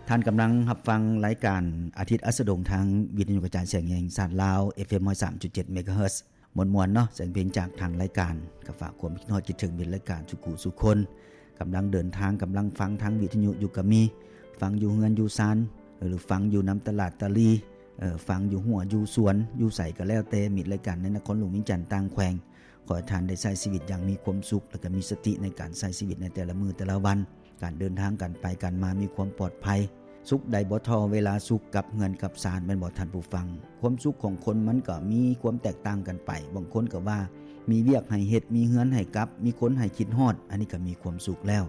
ທ່ານກຳລັງຮັບຟັງລາຍການອາທິດອັສດງ ທາງວິທະຍຸກະຈາຍສຽງແຫ່ງຊາດລາວ ເອັຟເອັມ ຮ້ອຍສາມຈຸດເຈັດ ເມກາເຮີດ ມ່ວນໆເນາະ, ສຽງເພງຈາກທາງລາຍການ ກໍຝາກຄວາມຄິດຮອດຄິດເຖິງມິດລາຍການສູ່ຄູ່ສູ່ຄົນ. ກຳລັງເດີນທາງ ກຳລັງຟັງທາງວິທະຍຸຢູ່ກໍມີ, ຟັງຢູ່ເຮືອນຢູ່ຊານ ຫຼືຟັງຢູ່ນຳຕະຫຼາດຕະຫຼີ່, ເອີ ຟັງຢູ່ຮົ້ວຢູ່ສວນ ຢູ່ໃສກໍແລ້ວແຕ່ ມິດລາຍການໃນນະຄອນຫຼວງວຽງຈັນ ຕ່າງແຂວງ. ຂໍໃຫ້ທ່ານໄດ້ໃຊ້ຊີວິດຢ່າງມີຄວາມສຸກ ແລະກໍມີສະຕິໃນການໃຊ້ຊີວິດໃນແຕ່ລະມື້ແຕ່ລະວັນ. ການເດີນທາງ ການໄປການມາມີຄວາມປອດໄພ. ສຸກໃດບໍ່ທໍ່ເວລາສຸກກັບເຮືອນກັບຊານ ແມ່ນບໍ່ທ່ານຜູ້ຟັງ? ຄວາມສຸກຂອງຄົນມັນກໍມີຄວາມແຕກຕ່າງກັນໄປ. ບາງຄົນກໍວ່າມີວຽກໃຫ້ເຮັດ, ມີເຮືອນໃຫ້ກັບ, ມີຄົນໃຫ້ຄິດຮອດ, ອັນນີ້ກໍມີຄວາມສຸກແລ້ວ.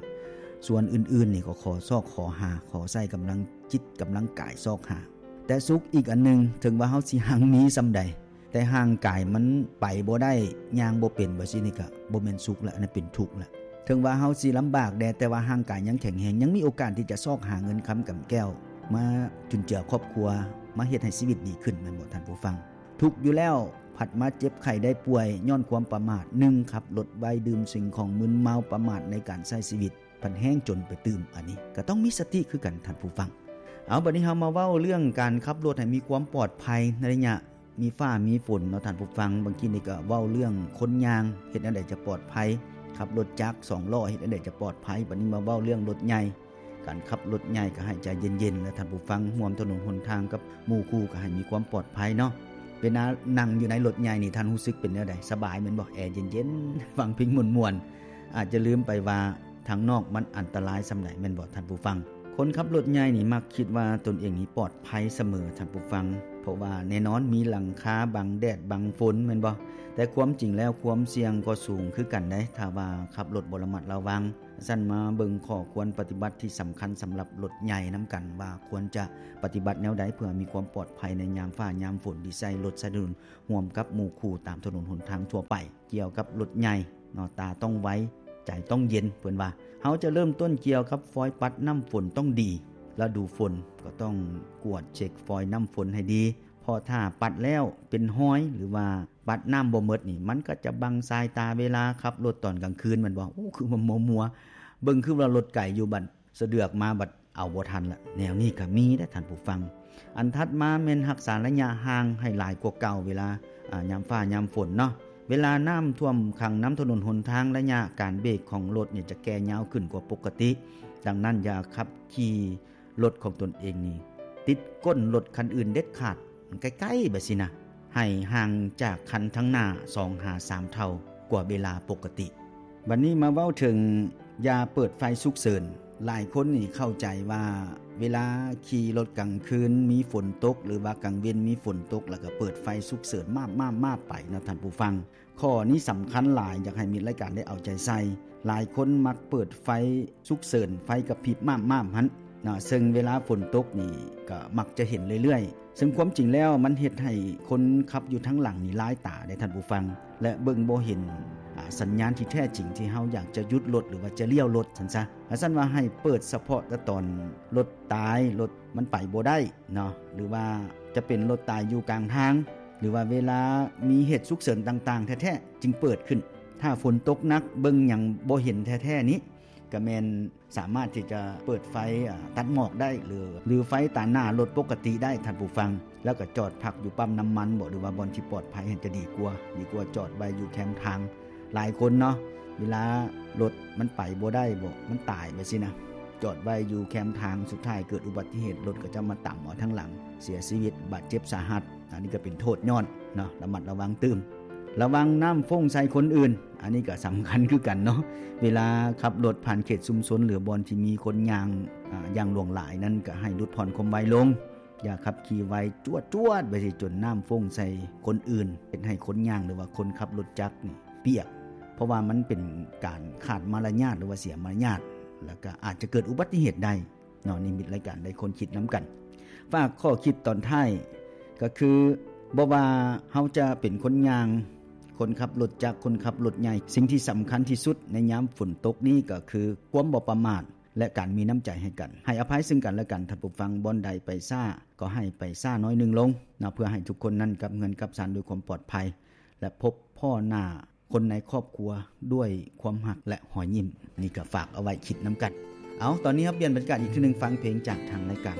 ສ່ວນອື່ນໆນີ້ກໍຂໍຊອກຂໍຫາ, ຂໍໃຊ້ກຳລັງຈິດກຳລັງກາຍຊອກຫາ. ແຕ່ສຸກອີກອັນໜຶ່ງ, ເຖິງວ່າເຮົາຊິຮັ່ງມີສ່ຳໃດ, ແຕ່ຮ່າງກາຍມັນໄປບໍ່ໄດ້, ຍ່າງບໍ່ເປັນ ວ່າຊີ້ນີ້ ກໍບໍ່ແມ່ນສຸກລະ, ອັນນັ້ນເປັນທຸກລະ. ເຖິງວ່າເຮົາຊິລຳບາກແດ່, ແຕ່ວ່າຮ່າງກາຍຍັງແຂງແຮງ, ຍັງມີໂອກາດທີ່ຈະຊອກຫາເງິນຄຳກຳແກ້ວ ມາຈຸນເຈືອຄອບຄົວ, ມາເຮັດໃຫ້ຊີວິດດີຂຶ້ນ, ແມ່ນບໍ່ທ່ານຜູ້ຟັງ? ທຸກຢູ່ແລ້ວ, ພັດມາເຈັບໄຂ້ໄດ້ປ່ວຍຍ້ອນຄວາມປະໝາດ. ໜຶ່ງ, ຂັບລົດໄວ, ດື່ມສິ່ງຂອງມຶນເມົາ, ປະໝາດໃນການໃຊ້ຊີວິດ, ພັດແຮ່ງຈົນໄປຕື່ມ. ອັນນີ້ກໍຕ້ອງມີສະຕິຄືກັນ, ທ່ານຜູ້ຟັງ. ເອົາ, ບັດນີ້ເຮົາມາເວົ້າເລື່ອງການຂັບລົດໃຫ້ມີຄວາມປອດໄພໃນໄລຍະ ມີຟ້າມີຝົນເນາະທ່ານຜູ້ຟັງ. ບາງທີນີ້ກໍເວົ້າເລື່ອງຄົນຍ່າງ ເຮັດແນວໃດຈະປອດໄພ, ຂັບລົດຈັກສອງລໍ້ ເຮັດແນວໃດຈະປອດໄພ. ບັດນີ້ມາເວົ້າເລື່ອງລົດໃຫຍ່, ການຂັບລົດໃຫຍ່ກໍໃຫ້ໃຈເຢັນໆ ແລະທ່ານຜູ້ຟັງຮ່ວມຖະໜົນຫົນທາງກັບໝູ່ຄູ່ກໍໃຫ້ມີຄວາມປອດໄພເນາະ. ເວລານັ່ງຢູ່ໃນລົດໃຫຍ່ນີ້ ທ່ານຮູ້ສຶກເປັນແນວໃດ? ສະບາຍແມ່ນບໍ່? ແອເຢັນໆ ຟັງເພງມ່ວນໆ. ອາດຈະລືມໄປວ່າ ທາງນອກມັນອັນຕະລາຍສ່ຳໃດ ແມ່ນບໍ່ທ່ານຜູ້ຟັງ? ຄົນຂັບລົດໃຫຍ່ນີ້ມັກຄິດວ່າຕົນເອງນີ້ປອດໄພສະເໝີ ທ່ານຜູ້ຟັງ, ເພາະວ່າແນ່ນອນມີຫຼັງຄາບັງແດດບັງຝົນ ແມ່ນບໍ່? ແຕ່ຄວາມຈິງແລ້ວຄວາມສ່ຽງກໍສູງຄືກັນໃດ໋ ຖ້າວ່າຂັບລົດບໍ່ລະມັດລະວັງ. ຊັ້ນມາເບິ່ງຂໍ້ຄວນປະຕິບັດທີ່ສຳຄັນສຳລັບລົດໃຫຍ່ນຳກັນ ວ່າຄວນຈະປະຕິບັດແນວໃດເພື່ອມີຄວາມປອດໄພໃນຍາມຟ້າຍາມຝົນ ທີ່ໃຊ້ລົດໃຊ້ຖະໜົນຮ່ວມກັບໝູ່ຄູ່ຕາມຖະໜົນຫົນທາງທົ່ວໄປ. ກ່ຽວກັບລົດໃຫຍ່ເນາະ, ຕາຕ້ອງໄວ ໃຈຕ້ອງເຢັນ ເພິ່ນວ່າ. ເຮົາຈະເລີ່ມຕົ້ນກ່ຽວກັບຟອຍປັດນ້ຳຝົນຕ້ອງດີ. ລະດູຝົນກໍຕ້ອງກວດເຊັກຟອຍນ້ຳຝົນໃຫ້ດີ, ເພາະຖ້າປັດແລ້ວເປັນຮອຍ ຫຼືວ່າປັດນ້ຳບໍ່ໝົດນີ້ ມັນກໍຈະບັງສາຍຕາເວລາຂັບລົດຕອນກາງຄືນ ແມ່ນບໍ່? ໂອ້ ຄືວ່າມົວໆ ເບິ່ງຄືວ່າລົດໄກຢູ່ ບັດສະເດືອກມາບັດ ເອົາບໍ່ທັນລະ. ແນວນີ້ກໍມີເດ້ທ່ານຜູ້ຟັງ. ອັນຖັດມາແມ່ນຮັກສາໄລຍະຫ່າງໃຫ້ຫຼາຍກວ່າເກົ່າ ເວລາ ອາ ຍາມຟ້າຍາມຝົນເນາະ. ເວລານ້ຳຖ້ວມຂັງນຳຖະໜົນຫົນທາງ, ໄລຍະການເບຣກຂອງລົດນີ້ຈະແກ່ຍາວຂຶ້ນກວ່າປົກກະຕິ. ດັ່ງນັ້ນ ຢ່າຂັບຂີ່ລົດຂອງຕົນເອງນີ້ຕິດກົ້ນລົດຄັນອື່ນເດັດຂາດ. ໃກ້ໆ ແບບຊີ້ນະ, ໃຫ້ຫ່າງຈາກຄັນທາງໜ້າສອງຫາສາມເທົ່າກວ່າເວລາປົກກະຕິ. ບັດນີ້ມາເວົ້າເຖິງຢ່າເປີດໄຟສຸກເສີນ. ຫຼາຍຄົນນີ້ເຂົ້າໃຈວ່າເວລາຂີ່ລົດກາງຄືນມີຝົນຕົກ ຫຼືວ່າກາງເວັນມີຝົນຕົກ ແລ້ວກໍເປີດໄຟສຸກເສີນມາບໆໆໄປເນາະທ່ານຜູ້ຟັງ. ຂໍ້ນີ້ສຳຄັນຫຼາຍ, ຢາກໃຫ້ມິດລາຍການໄດ້ເອົາໃຈໃສ່. ຫຼາຍຄົນມັກເປີດໄຟສຸກເສີນ, ໄຟກະພິບມາບໆຫັ້ນເນາະ, ເຊິ່ງເວລາຝົນຕົກນີ້ກໍມັກຈະເຫັນເລື້ອຍໆ. ເຊິ່ງຄວາມຈິງແລ້ວມັນເຮັດໃຫ້ຄົນຂັບຢູ່ທາງຫຼັງນີ້ລາຍຕາເດ້ທ່ານຜູ້ຟັງ, ແລະ ເບິ່ງບໍ່ເຫັນ ອາ ສັນຍານທີ່ແທ້ຈິງທີ່ເຮົາຢາກຈະຢຸດລົດ ຫຼືວ່າຈະລ້ຽວລົດຊັ້ນຊະ. ວ່າຊັ້ນວ່າໃຫ້ເປີດສະເພາະແຕ່ຕອນລົດຕາຍ, ລົດມັນໄປບໍ່ໄດ້ເນາະ, ຫຼືວ່າຈະເປັນລົດຕາຍຢູ່ກາງທາງ, ຫຼືວ່າເວລາມີເຫດສຸກເສີນຕ່າງໆແທ້ໆຈຶ່ງເປີດຂຶ້ນ. ຖ້າຝົນຕົກໜັກ ເບິ່ງຫຍັງບໍ່ເຫັນແທ້ໆນີ້ ກະແມ່ນສາມາດທີ່ຈະເປີດໄຟ ອາ ຕັດໝອກໄດ້ ຫຼື ຫຼືໄຟຕາໜ້າລົດປົກກະຕິໄດ້ທ່ານຜູ້ຟັງ, ແລ້ວກະຈອດພັກຢູ່ປ້ຳນ້ຳມັນບໍ ຫຼືວ່າບ່ອນທີ່ປອດໄພຫັ້ນຈະດີກວ່າ, ດີກວ່າຈອດໄວ້ຢູ່ແຄມທາງ. ຫຼາຍຄົນເນາະ ເວລາລົດມັນໄປບໍ່ໄດ້ບໍ ມັນຕາຍແບບຊີ້ນະ, ຈອດໄວ້ຢູ່ແຄມທາງ ສຸດທ້າຍເກີດອຸບັດຕິເຫດ ລົດກໍຈະມາຕຳເອົາທາງຫຼັງ ເສຍຊີວິດ ບາດເຈັບສາຫັດ. ອັນນີ້ກໍເປັນໂທດຍ້ອນເນາະ, ລະມັດລະວັງຕື່ມ. ລະວັງນ້ຳຟົ້ງໃສ່ຄົນອື່ນ, ອັນນີ້ກໍສຳຄັນຄືກັນເນາະ. ເວລາຂັບລົດຜ່ານເຂດຊຸມຊົນ ຫຼືບ່ອນທີ່ມີຄົນຍ່າງ ອາ ຢ່າງຫຼວງຫຼາຍນັ້ນ ກໍໃຫ້ຫຼຸດຜ່ອນຄວາມໄວລົງ, ຢ່າຂັບຂີ່ໄວຈວດໆໄປຊິຈົນນ້ຳຟົ້ງໃສ່ຄົນອື່ນ, ເຮັດໃຫ້ຄົນຍ່າງ ຫຼືວ່າຄົນຂັບລົດຈັກນີ້ປຽກ, ເພາະວ່າມັນເປັນການຂາດມາລະຍາດ ຫຼືວ່າເສຍມາລະຍາດ, ແລ້ວກໍອາດຈະເກີດອຸບັດຕິເຫດໄດ້. ເນາະ ນີ້ມິດລາຍການໄດ້ຄົ້ນຄິດນຳກັນ. ຝາກຂໍ້ຄິດຕອນທ້າຍກໍຄື ບໍ່ວ່າເຮົາຈະເປັນຄົນຍ່າງ, ຄົນຂັບລົດຈັກ, ຄົນຂັບລົດໃຫຍ່, ສິ່ງທີ່ສຳຄັນທີ່ສຸດໃນຍາມຝົນຕົກນີ້ກໍຄືຄວາມບໍ່ປະໝາດ ແລະ ການມີນ້ຳໃຈໃຫ້ກັນ, ໃຫ້ອະໄພເຊິ່ງກັນແລະກັນ. ທ່ານຜູ້ຟັງ, ບ່ອນໃດໄປຊ້າກໍໃຫ້ໄປຊ້າໜ້ອຍໜຶ່ງລົງເນາະ, ເພື່ອໃຫ້ທຸກຄົນນັ້ນກັບເຮືອນກັບຊານດ້ວຍຄວາມປອດໄພ ແລະ ພົບພໍ້ໜ້າ ຄົນໃນຄອບຄົວດ້ວຍຄວາມຮັກ ແລະ ຮອຍຍິ້ມ. ນີ້ກໍຝາກເອົາໄວ້ຄິດນຳກັນ. ເອົາ ຕອນນີ້ເຮົາປ່ຽນບັນຍາກາດອີກເທື່ອໜຶ່ງ ຟັງເພງຈາກທາງລາຍການ.